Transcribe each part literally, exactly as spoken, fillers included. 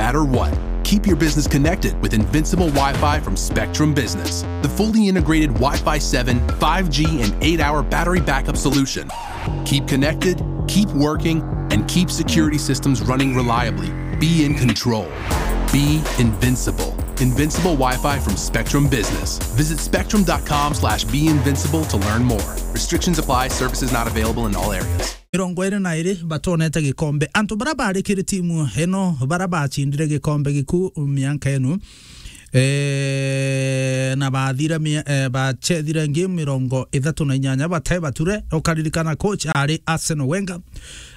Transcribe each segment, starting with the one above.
matter what. Keep your business connected with Invincible Wi-Fi from Spectrum Business, the fully integrated Wi-Fi seven, five G, and eight-hour battery backup solution. Keep connected, keep working, and keep security systems running reliably. Be in control. Be invincible. Invincible Wi-Fi from Spectrum Business. Visit spectrum dot com slash be invincible to learn more. Restrictions apply. Services not available in all areas. Mirongo iri na iri batonete gikombe. Antu bara bari kiri timu ino, bara bacindire gikombe giku mianka ino, eh, na bathire mi-, eh, bachethire game mirongo ithatu na inyanya bate bature. Ukaririkana coach ari Arsene Wenger.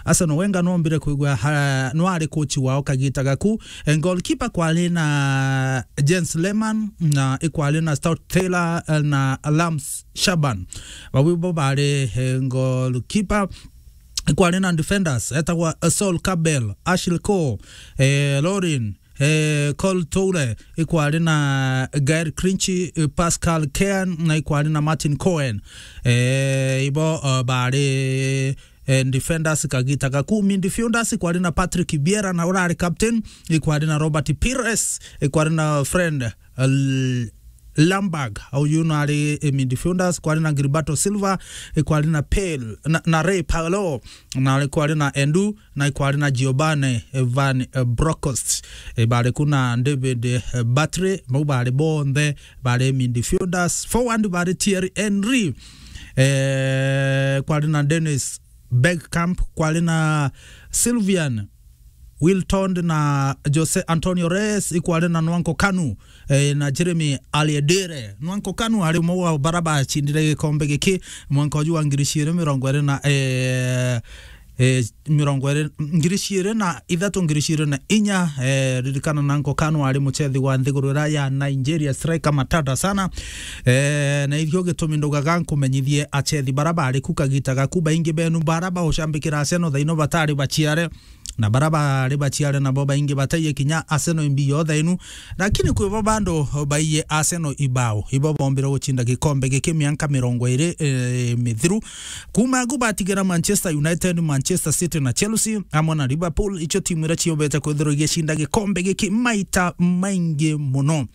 Arsene Wenger nombire kwigua ha-, no ari coach wao kagita gaku. Eh, goalkeeper kwari na Jens Lehmann, na ikwari na Stuart Taylor, eh, na Lams Shaban. Bau bo bari, eh, goalkeeper. Ikwari na defenders, etagwa, eh, Sol Campbell, Ashley Cole, eh, Lauren, eh, Kolo Toure, ikwari na Gael Clichy, eh, Pascal Cairns, na ikwari na Martin Cohen. Eh, ibo, eh, bari, eh, defenders kagita gaku. Midfielders ikwari na Patrick Vieira, na urari captain, ikwari na Robert Pires, ikwari na Fred, eh, Ljungberg, au yu no ari, eh, midfielders, kwari na Gilberto Silva, eh, kwari na Pale, na, na Ray Parlour, na kwari na Endo, na kwari na Giovanni, eh, Van, eh, Bronckhorst, eh, bari ku na David, eh, Bartley, bau bari bonthe bari midfielders. Forward bari Thierry Henry, eh, kwari na Dennis Bergkamp, kwari na Sylvain Wiltord na Jose Antonio Reyes, ikwari na Nwankwo Kanu, eh, na Jeremy Ayadele. Nwankwo Kanu ari umwe wa bara bacindire gikombe giki mwanka uju wa ngiri ciiri mirongo iri na, eh, eh, mirongo iri, ngiri ciiri na ithatu, ngiri ciiri na inya, eh, ririkana Nwankwo Kanu ari muchethi wa nthiguru iria ya Nigeria, striker matata sana. Eh, na irio gitumi ndugaga nkumenyithie achethi bara bari ku kagita gaku, baingi benu bara baucambikira Arsenal thaino batari baciare. Na bara bari baciare nabo baingi bataiye kinya Arsenal imbi yo thainu, lakini kwi bo bandu baiye Arsenal ibao, ibo bombire gucinda gikombe giki mianka mirongo iri, eh, mithiru. Kuma agu batigira Manchester United, Manchester City na Chelsea, amwe na Liverpool, icio timu iria ciobete kwithirwa igicinda gikombe giki maita maingi muno.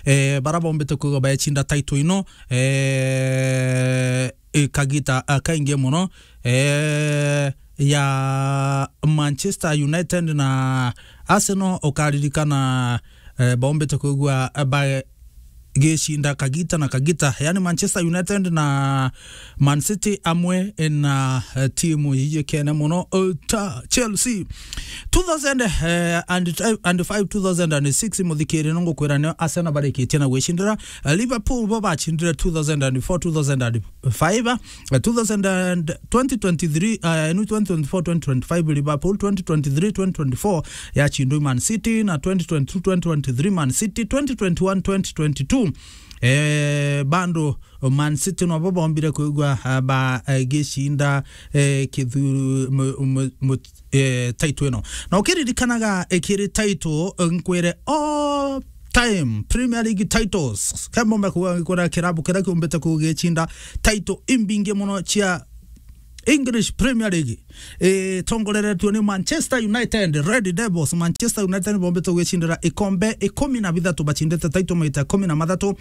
Eh, bara bombite kwigwa baecinda title ino, eh, eh, kagita, ah, kaingi muno, eh, ya Manchester United na Arsenal, ukaririkana, eh, bombite kwigwa, eh, bagicinda kagita na kagita, yani Manchester United na Man City amwe na, eh, timu ijikene muno, eh, ta Chelsea. Two thousand, eh, and, and five, two thousand and six, muthikiri, no ngukwira nio Arsenal barikitie na gwicindira. Eh, Liverpool bo bacindire two thousand and four, two thousand and five, eh, two thousand and twenty twenty-three, eh, no, twenty twenty-four, twenty twenty-five Liverpool, twenty twenty-three, twenty twenty-four yacindwe Man City, na twenty twenty-two, twenty twenty-three Man City, twenty twenty-one, twenty twenty-two, eh, bando Man City nobo bombire kwigua, ah, ba, eh, gicinda, eh, kithuru, mu, mu, mu, eh, title ino. Na ukiririkanaga, eh, kiri title, eh, nkwire all time Premier League titles. Kembombe kuga ngikura kirabu kiria kiumbite kugicinda title imbingi muno cia English Premier League, eh, tongoreretue ni Manchester United, Red Devils. Manchester United bombite gwicindira ikombe ikumi na bithatu, bacindite title maita ikumi na mathatu,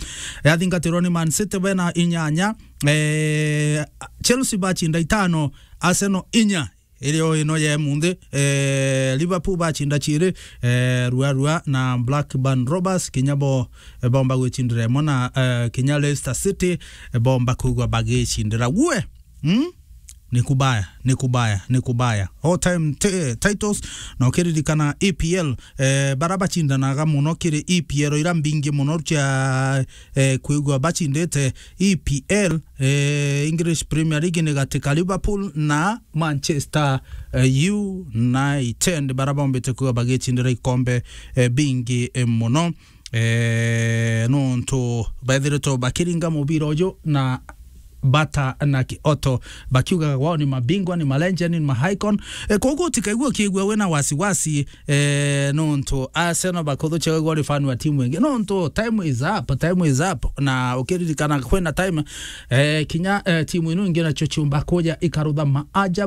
yathingatirwa ni Man City bena inyanya, eh, Chelsea bacinda itano, Arsenal inya, irio ino ya munthi, eh, Liverpool bacinda ciiri, eh, rua rua, na Blackburn Rovers kinya bo, eh, bomba gwicindira imwe, na, eh, kinya Leicester City, eh, bomba kwigua bagicindira. Gue, mm? Ni kubaya, ni kubaya, ni kubaya. All time t-, titles, na ukiririkana E P L, eh, bara bacindanaga muno kiri E P L ira mbingi muno cia, eh, kwigua bacindite E P L, eh, English Premier League ni gati ka Liverpool na Manchester, eh, United, bara bombite kwigua bagicindira ikombe, eh, bingi, eh, muno. Eh, nontu bethiritwe bakiringa mubira uju na bata na kioto, bakiugaga wao ni mabingwa, ni malegend, ni maicon. Eh, koguo utikaigua ukiigua wina wasiwasi, eh, nontu Arsenal bakuthuchaga igua uri fan wa timu ingi. Nontu time is up, time is up. Na ukiririkana kwina time, eh, kinya, eh, timu ino ingi nacio ciumba kuja ikarutha maajabu.